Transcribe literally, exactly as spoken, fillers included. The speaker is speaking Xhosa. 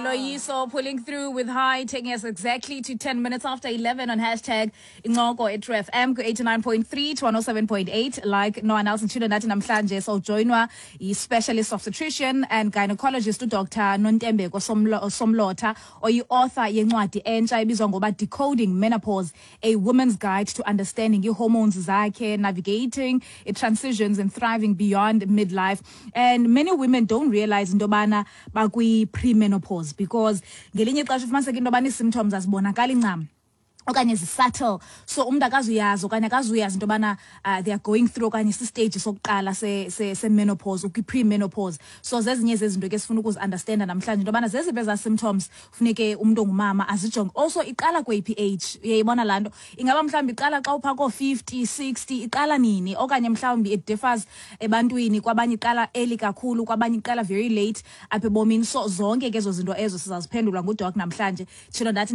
Loyiso pulling through with high, taking us exactly to ten minutes after eleven on hashtag Incoko at True F M ku eighty-nine point three to one oh seven point eight. Like no one else, nditshilo nathi namhlanje sawujoyinwa yi-specialist obstetrician and gynecologist uDoctor Nontembeko Somlo- Somlotha, oyi-author yencwadi entsha ebizwa ngoba Decoding Menopause, A Woman's Guide to Understanding Ii-Hormones zakhe, Navigating Transitions and Thriving Beyond Midlife. And many women don't realize into yobana bakwi-premenopause, because ngelinye ixesha ufumaniseka into yobana ii-symptoms azibonakali ncam okanye zi-subtle, so umntu akazuyazi okanye akazuyazi into yobana uh, they are going through okanye si-stage sokuqala se-menopause, ukwi-pre-menopause. So zezinye zezinto ke sifuna ukuzi-understanda namhlanje, into yobana zeziphi ezaa symptoms funeke umntu ongumama azijonge. Also, iqala kweyiphi age? Uyayibona laa nto? Ingaba mhlawumbi iqala xa uphaa koo-fifty, sixty? Iqala nini? Okanye mhlawumbi it differs ebantwini, kwabanye iqala early kakhulu, kwabanye iqala very late apha ebomini. So zonke ke ezo zinto ezo sizaziphendulwa nguDoc namhlanje. Tshilo ndathi.